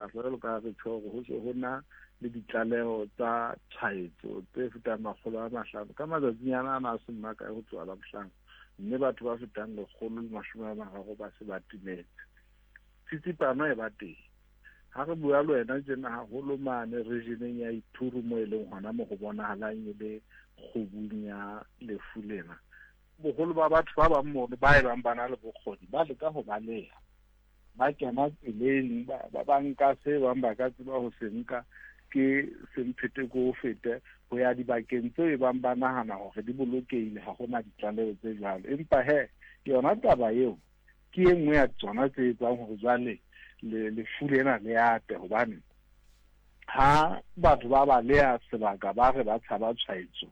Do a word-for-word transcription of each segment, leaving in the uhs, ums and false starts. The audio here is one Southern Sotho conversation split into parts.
sekgahla jwalo ka re tjho hore ho se ho na le ditlaleho tsa tshwaetso tse fetang makgolo a mahlano ka matsatsinyana ana a seng makae ho tloha Labohlano, mme batho ba fetang lekgolo le mashome a mararo ba se ba timetse. Tsitsipano e ba teng. Ha re bua le wena tjena haholo mane regioneng ya Ituri mo e leng hona mo ho bonahalang e le kgubung ya lefu lena. Boholo ba batho ba bang mono ba e bang ba na le bokgoni ba leka ho baleha, ba kena tseleng, ba ba ba nka se bang ba ka tseba ho se nka ke semphete ko fete ho ya dibakeng tseo e bang ba nahana hore di bolokehile, ha hona ditlaleho tse jwalo. Empa he yona taba eo ke e nngwe ya tsona tse etsang hore jwale le lefu lena le ate, hobane ha batho ba baleha sebaka ba re ba tshaba tshwaetso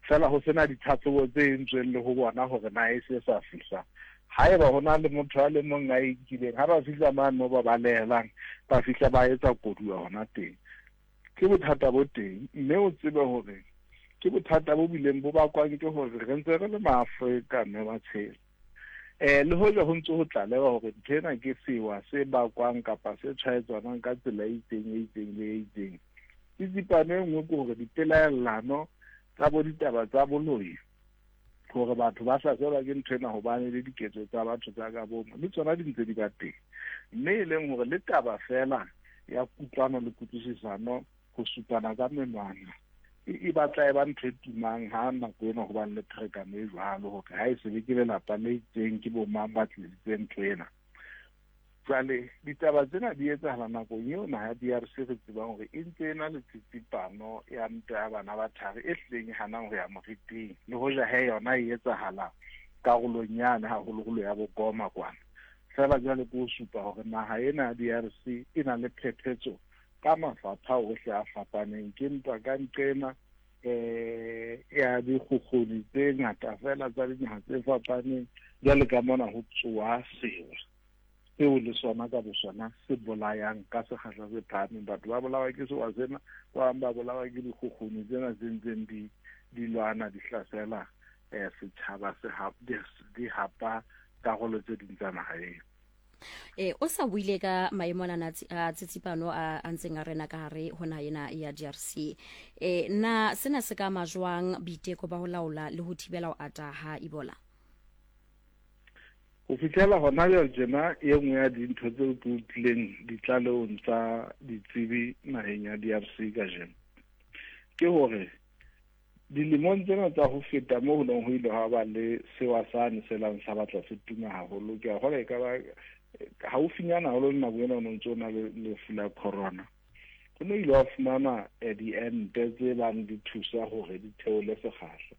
fela ho sena ditlhatlhobo tse entsweng le ho bona hore na e se sa fihla. Haeba ho na le motho a le mong a inkileng, ha ba fihla mane mo ba balehelang, ba fihla ba etsa koduwa hona teng. Ke bothata bo teng, mme o tsebe hore ke bothata bo bileng bo bakwang ke hore re ntse re le maAfrika mme ba tshela. Eh le hoja ho ntse ho tlalewa hore ntho ena ke sewa se bakwang kapa se tshwaetsanang ka tsela e itseng e itseng le e itseng. Tsitsipano e nngwe ke hore dipelaellano tsa bo ditaba tsa boloi, hore batho ba hlaselwa ke ntho ena hobane le diketso tsa batho tsa ka bomo, le tsona di ntse di ba teng. Mme e leng hore le taba fela ya kutlwano le kutlwisisano, ho supana ka menwana, e, e batla e ba ntho e tumang ha nako ena hobane le pherekano e jwalo, hore ha e se be ke lelapa le itseng ke bo mang ba tlisitseng ntho ena. Jwale ditaba tsena di etsahala nakong eo naha ya D R C re tsebang hore e ntse e na le tsitsipano ya ntwa ya bana ba thari e hlileng e hanang ho ya moriting, le hoja he yona e etsahala karolong yane haholoholo ya Bokoma kwana. Feela jwale ke ho supa hore naha ena ya D R C e na le phephetso ka mafapha ohle a fapaneng. Ke ntwa ka nqena eh ya dikgukguni tse ngata fela tsa dinaha tse fapaneng, jwale ka mona ho tsoha sewa seo le sona ka bosona se bolayang ka sekgahla se phahameng. Batho ba bolawa ke sewa sena, ba bang ba bolawa ke dikgukguni tsena tse ntseng di, di lwana, di hlasela, eh, setjhaba se hap-, di, di hapa karolo tse ding tsa naha eo. E, o sa buile ka maemo ana a tsitsipano a, a ntseng a rena ka hare ho naha ena ya D R C. E, na sena se ka ama jwang boiteko ba ho laola le ho thibela ho ata ha Ebola? Ho fihlela hona jwale tjena, e nngwe ya dintho tseo ke utlwileng ditlalehong tsa ditsebi naheng ya D R C kajeno ke hore dilemong tsena tsa ho feta moo ho neng ho ile ha ba le sewa sane se lang sa batla se tuma haholo, ke a kgolwa e ka ba haufinyana haholo le nako ena o no ntso o na le lefu la corona, ho ne ile wa fumana, eh, diente tse bang di thusa hore di theole sekgahla.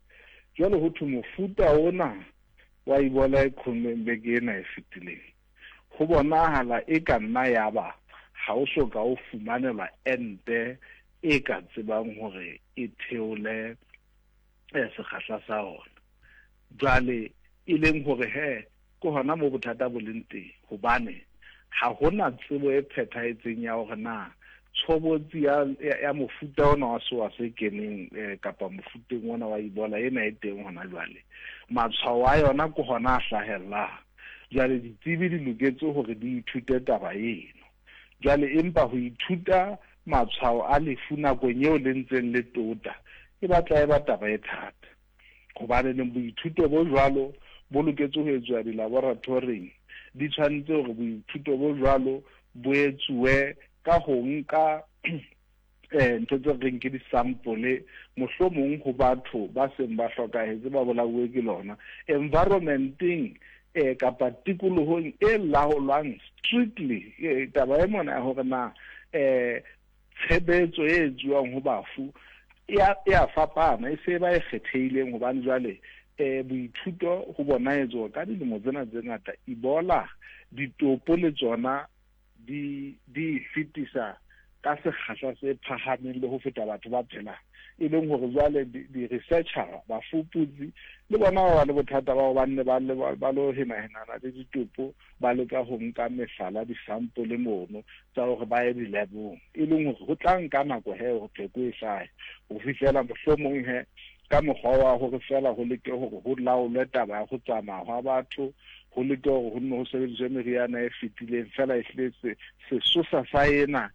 Jwale ho thwe mofuta ona wa Ebola e qhommeng beke ena e fetileng, ho bonahala e ka nna ya ba ha o so ka o fumanelwa ente e ka tsebang hore e theole, eh, sekgahla sa ona. Jwale e leng hore he ke hona mo bothata bo leng teng, hobane ha hona tsebo e phethahetseng ya hore na tshobotsi ya, ya, ya mofuta ona wa sewa se keneng, eh, kapa mofuteng ona wa Ebola ena e teng hona jwale, matshwao a yona ke hona a hlahellang. Jwale ditsebi di loketse hore di ithute taba eno. Jwale empa ho ithuta matshwao a lefu nakong eo le ntseng le tota e batla e ba taba e thata, hobane neng boithuto bo jwalo bo loketse ho etsuwa di-laboratoring, di tshwanetse hore boithuto bo jwalo bo etsuwe ka ho nka, eh, ntho tse reng ke di-sample mohlomong ho batho ba seng ba hlokahetse ba bolauwe ke lona environmenteng, eh, kapa tikolohong e laolwang strictly. Eh, taba e mona ya hore na, eh, tshebetso e etsuwang ho bafu e a, e a fapana, e se ba e kgethehileng, hobane jwale, eh, boithuto ho bona etsuwa ka dilemo tsena tse ngata. Ebola ditopo le tsona di, di fetisa ka sekgahla se phahameng le ho feta batho ba phelang, e leng hore jwale di-, di-researcher, bafuputsi le bona ba ba le bothata ba hobane ba le, ba, ba lo henahenana le ditopo, ba leka ho nka mehlala, di-sample mono tsa hore ba ye di-lab-ong, e leng hore ho tla nka nako he hore pheko e hlahe, ho fihlela mohlomong he ka mokgwa wa hore feela ho leke hore ho laolwe taba ya ho tsamaya hwa batho, ho leke hore ho nne ho sebediswe meriana e fetileng, feela ehlile se-, sesosa sa ena